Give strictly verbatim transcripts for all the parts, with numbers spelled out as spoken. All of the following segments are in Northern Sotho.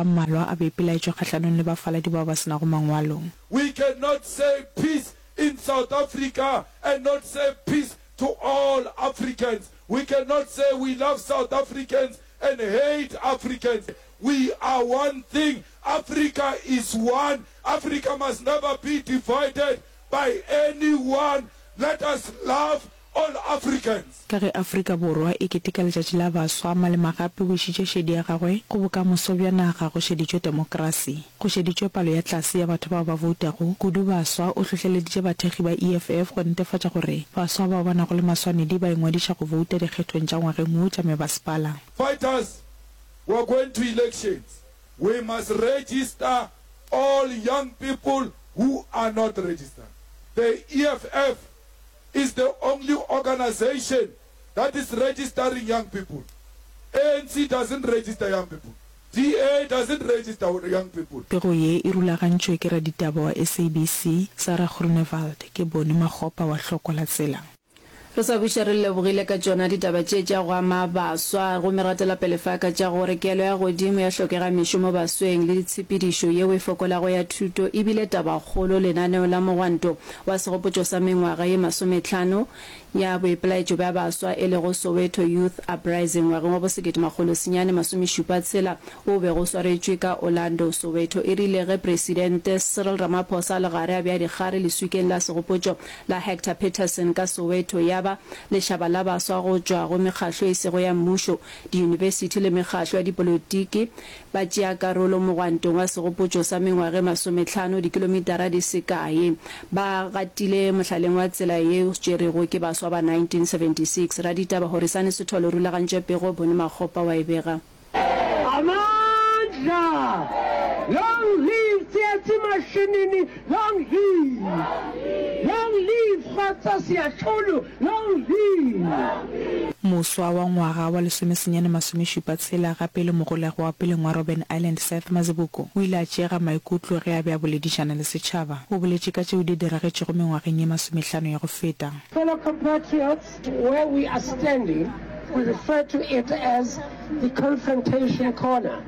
a mmalwa a boipelaetšo kgahlanong le bafaladi bao ba se nago mangwalo. We cannot say peace in South Africa and not say peace to all Africans. We cannot say we love South Africans and hate Africans. We are one thing. Africa is one. Africa must never be divided by anyone. Let us love all Africans. Ka ge Afrika Borwa e keteka Letšatši la Baswa, Malema gape o išitše šedi ya gagwe go bokamoso bja naga go šeditšwe temokrasi. Go šeditšwe palo ya tlase ya batho bao ba boutago, kudu baswa, o hlohleleditše bathekgi ba E F F go netefatša gore baswa bao ba nago le maswanedi ba ingwadiša go bouta dikgethong tša ngwageng wo tša mebasepala. Fighters, we are going to elections. We must register all young people who are not registered. The E F F is the only organization that is registering young people. A N C doesn't register young people. D A doesn't register young people. Pego ye e rulagantšwe ke raditaba wa S A B C, Sarah Groenewald, ke Boni Makgopa wa Hlokwa la Tsela. Re sa buša re lebogile ka tšona ditaba tše tša go ama baswa, gomme re gatela pele fa ka tša gore kelo ya godimo ya hlokega mešomo basweng le ditshepedišo yeo e fokolago ya thuto ebile tabakgolo lenaneo la mogwanto wa segopotšo sa mengwaga ye masometlhano ya boipelaetšo bja baswa e lego Soweto Youth Uprising ngwageng wa bosekete makgolo senyane masomešupa tshela o bego o swaretšwe ka Orlando Soweto. E rile ge Presidente Cyril Ramaphosa le gare a bja dikgare leswikeng la segopotšo la Hector Peterson ka Soweto, ya ba lešaba la baswa go tšwa go mekgahlo e sego ya mmušo, diyunibesithi le mekgahlo ya dipolotiki ba tšea karolo mogwantong wa segopotšo sa mengwaga e masometlhano dikilomitara di se kae ba gatile mohlaleng wa tsela ye o tšerego ke baswa ba nineteen seventy-six. Raditaba Horisane Sethole rulagantše pego, Bone Makgopa wa e bega. Amandla! Long live Tsietsi Mashinini! Long live! Long live Kgotso Seatlholo! Long live! Moswa wa ngwaga wa lesomesenyane masomešupa tshela gape le mogolego wa peleng wa Robben Island Seth Mazibuko o ile a tšeega maikutlo ge a be a boledišana le setšhaba. O boletše ka tšeo di diragetšego mengwageng ye masomehlano ya go feta. Fellow compatriots, where we are standing, we refer to it as the confrontation corner.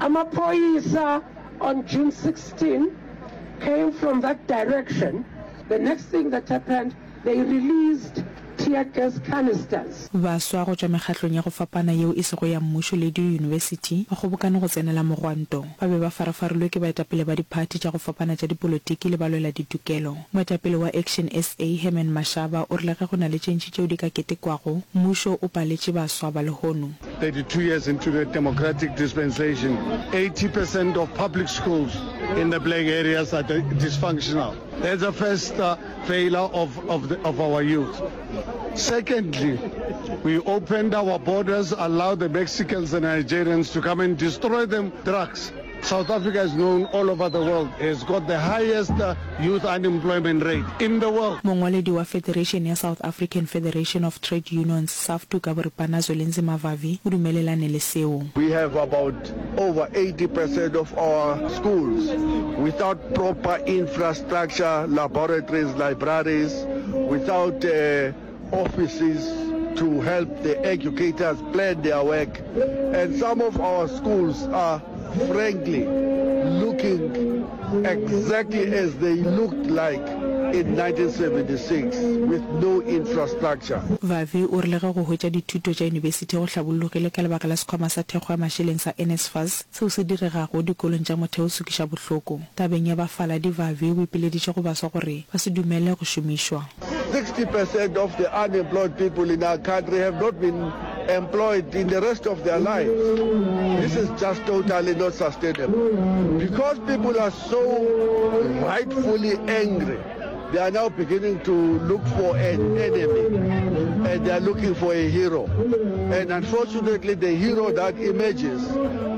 Amaphoyisa on June sixteen came from that direction. The next thing that happened, they released tear gas canisters. Baswa go tšwa mekgatlong ya go fapana yeo e sego ya mmušo le diyunibesithi ba kgobokane go tsenela mogwanto. Ba be ba farafarilwe ke baetapele ba diphathi tša go fapana tša dipolotiki le balwela ditokelo. Moetapele wa Action S A Herman Mashaba o rile ge go na le tše ntši tšeo di ka ketekwago, mmušo o paletše baswa ba lehono. thirty-two years into the democratic dispensation, eighty percent of public schools in the black areas are dysfunctional. That's the first uh, failure of, of, the, of our youth. Secondly, we opened our borders, allowed the Mexicans and Nigerians to come and destroy them drugs. South Africa is known all over the world. It's got the highest uh, youth unemployment rate in the world. Mongwaledi wa Federation ya South African Federation of Trade Unions SAFTU ka boripana Zwelinzima Vavi o dumelelane le seo. We have about over eighty percent of our schools without proper infrastructure, laboratories, libraries, without uh, offices to help the educators plan their work. And some of our schools are frankly looking exactly as they looked like in nineteen seventy-six with no infrastructure. Vavi o rile ge go hwetša dithuto tša yunibesithi go hlabollogile ka lebaka la sekhwama sa thekgo ya mašeleng sa N S F A S, seo se diregago dikolong tša motheo se kweša bohloko. Tabeng ya bafaladi, Vavi o ipileditše go baswa gore ba se dumele go šomišwa. sixty percent of the unemployed people in our country have not been employed in the rest of their lives. This is just totally not sustainable. Because people are so rightfully angry, they are now beginning to look for an enemy and they are looking for a hero. And unfortunately, the hero that emerges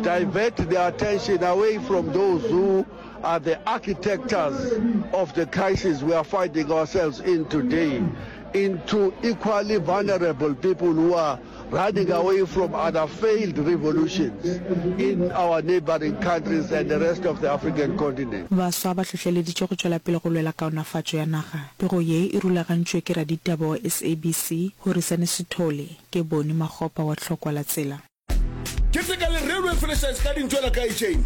divert their attention away from those who are the architects of the crisis we are finding ourselves in today, into equally vulnerable people who are running away from other failed revolutions in our neighboring countries and the rest of the African continent. Baswa ba hlohleleditšwe go tšwela pele go lwela kaonafatšo ya naga. Pego ye e rulagantšwe ke raditaba wa S A B C Horisane Sithole, ke Boni Makgopa wa Tlhokwa la Tsela. Keteka le Railway Franchise ka dintšwela ka chain.